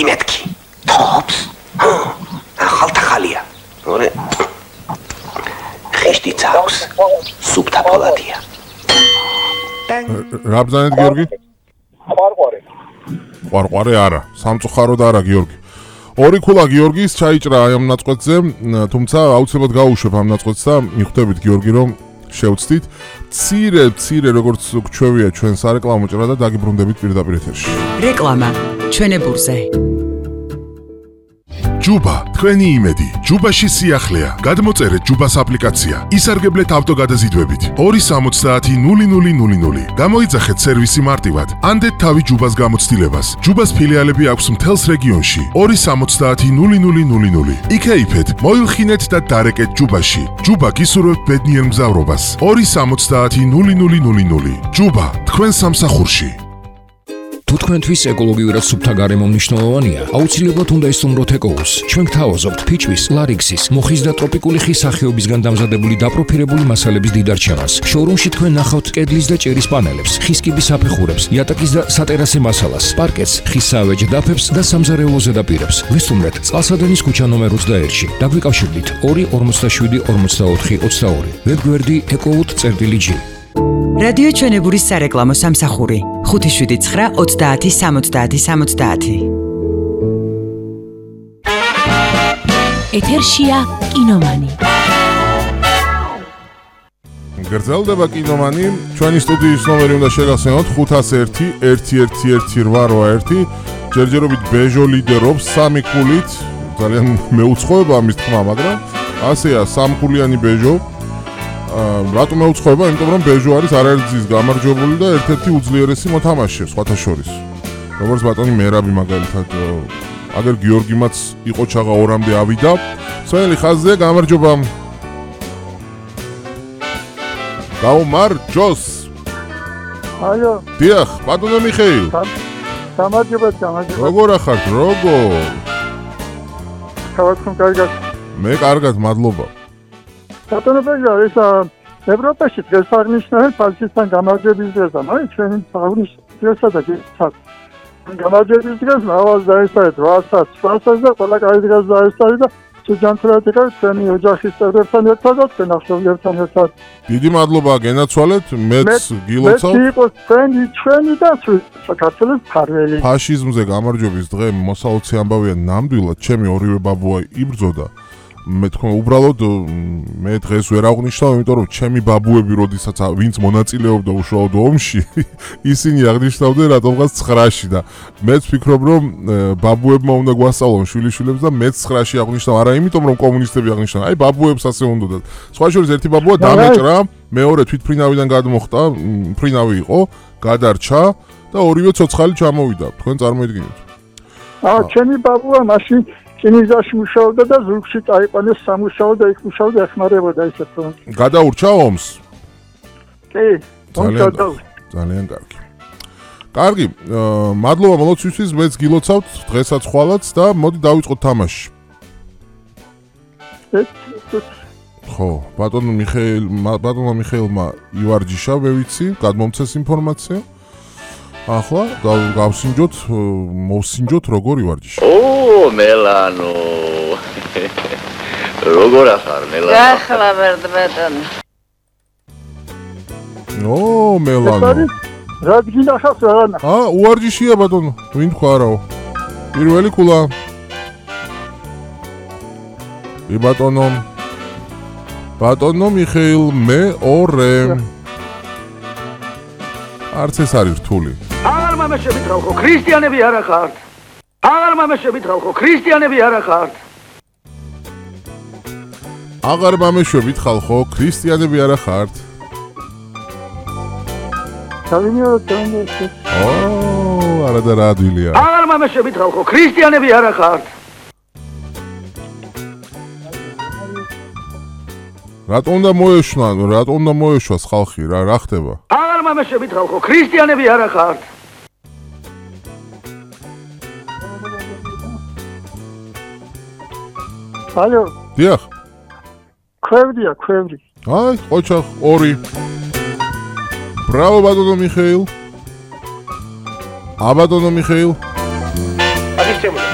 იმეთქი. თობს. ახალთახალია. ორე. ხეშტიც აქვს. სუფთა ფოლადია. რა ბრძანეთ გიორგი? ყვარყვარე არა, სამწუხაროდ არა გიორგი. ორი ქულა გიორგის ჩაიჭრა აი ამ ნაწყვეტზე, თუმცა აუცილებლად გავუშვებ ამ ნაწყვეტს და მიხვდებით გიორგი რომ შევცდით. მცირე როგორც გვჩვევია ჩვენ სარეკლამო ჭრა და დაგიბრუნდებით პირდაპირ ეთერში. რეკლამა ჩვენებურზე. ჯუბა, თქვენი იმედი. ჯუბაში სიახლეა. გადმოწერეთ ჯუბას აპლიკაცია. ისარგებლეთ ავტოგადაზიდვებით. 270-0000. გამოიძახეთ სერვისი მარტივად. ანდეთ თავი ჯუბას გამოცდილებას. ჯუბას ფილიალები აქვს მთელს რეგიონში. 270-0000. იქეიფეთ, მოილხინეთ და დარეკეთ ჯუბაში. ჯუბა გისურვებთ ბედნიერ მგზავრობას. 270-0000. ჯუბა, თქვენ სამსახურში. თუ თქვენთვის ეკოლოგიურად სუფთა გარემო მნიშვნელოვანია, აუცილებლად უნდა ისწავლოთ ეკოუს. ჩვენ გთავაზობთ ფიჭვის, ლარიქსის, მოხის და ტროპიკული ხის სახეობისგან დამზადებული დაპროფილებული მასალების დიდარჩევას. შოურუმში თქვენ ნახავთ კედლის და ჭერის პანელებს, ხის კიბის აფეხურებს, იატაკის და სატერასე მასალას, პარკეტს, ხის საავეჯ დაფებს და სამზარეულო ზედაპირებს. ვესტუმრეთ წყალსადენის ქუჩა ნომერ 21-ში. დაგვიკავშირდით 247 44 22. ვებგვერდი ecowood.g. რადიო ჩვენებურის სარეკლამო სამსახური 579 30 70 70. ეთერშია კინომანი. გრძელდება კინომანი. ჩვენი სტუდიის ნომერი უნდა შეგახსენოთ 501 111881. ჯერჯერობით ბეჟო ლიდერობს 3 ქულით. ძალიან მეუცხოება ამის თქმა, მაგრამ ასეა 3 ქულიანი ბეჟო. რატომ მეუცხოება? იმიტომ რომ ბეჟო არის არაერთგზის გამარჯვებული და ერთ-ერთი უძლიერესი მოთამაშე სხვათა შორის. როგორც ბატონი მერაბი მაგალითად, აგერ გიორგიმაც იყო ჩაღა 2-მდე ავიდა. სველი ხაზზე გამარჯობა. გამარჯოს. ალო. დიახ, ბატონო მიხეილ. გამარჯობა. როგორ ახართ? როგორ? თავად კარგად. მე კარგად, მადლობა. ბატონო ბეჟო, ეს ევროპაში დღეს აღნიშნავენ ფაშისტთან გამარჯვების დღეს, მაგრამ ჩვენი აღნიშნავს დღესა და გამარჯვების დღეს მრავალ დაესწრეთ 800 700 და ყველა კაი დღეს დაესწრეთ და ჯანმრთელად იყავით ჩვენი ოჯახის წევრებთან ერთად და ჩვენ ახლობლებთან ერთად. დიდი მადლობა გენაცვალეთ, მეც გილოცავ. მე იყო ჩვენი და საქართველოს ფარველი. ფაშიზმზე გამარჯვების დღე მოსაოცი ამბავია ნამდვილად, ჩემი ორივე ბაბუა იბრძოდა. მე თქო უბრალოდ მე დღეს ვერ აღნიშნავ, იმიტომ რომ ჩემი ბაბუები როდესაც ვინც მონაწილეობდა უშუალოდ ომში, ისინი აღნიშნავდნენ რატომღაც 9-ში და მეც ვფიქრობ რომ ბაბუებმა უნდა გვასწავლონ შვილიშვილებს და მეც 9-ში აღნიშნავ, არა იმიტომ რომ კომუნისტები აღნიშნავენ, აი ბაბუებს ასე უნდათ. სხვა შორის ერთი ბაბუა დამეჭრა, მეორე თვითფრინავიდან გადმოხტა, ფრინავი იყო, გადარჩა და ორივე ცოცხალი ჩამოვიდა. თქვენ წარმოიდგინეთ. ჩემი ბაბუა მაშინ კინიზაში მუშაობდა და ზურგში წაიყვანეს სამუშაო და იქ მუშაობდა ეხმარებოდა ისეთ რომ. გადაურჩა ომს? კი, ძალიან კარგი. კარგი, მადლობა მოლოცვისთვის, მეც გილოცავთ დღესაც ხვალაც და მოდი დავიწყოთ თამაში. ხო, ბატონო მიხეილმა ივარჯიშა, მე ვიცი, გადმომცეს ინფორმაცია. ახლა მოვსინჯოთ როგორ ივარჯიშა. მელანო. როგორ ახარ მელანო? ახლა ბატონო. მელანო. რა გინახავს რა? უვარჯიშია ბატონო, ვინ თქვა არაო. პირველი ქულა. ბატონო მიხეილ მეორე. არც ეს არის რთული. აღარ მამაშებით ხალხო, ქრისტიანები არა ხართ. აღარ მამაშებით ხალხო, ქრისტიანები არა ხართ. აღარ მამაშებით ხალხო, ქრისტიანები არა ხართ. არა და რა ადვილია. აღარ მამაშებით ხალხო, ქრისტიანები არა ხართ. რატომ უნდა მოეშვას ხალხი, რა ხდება? აღარ მამაშებით ხალხო, ქრისტიანები არა ხართ. ალო. დიახ. ქვევრი. აი, ყოჩახ 2. ბრავო ბატონო მიხეილ. ბატონო მიხეილ. ჩემო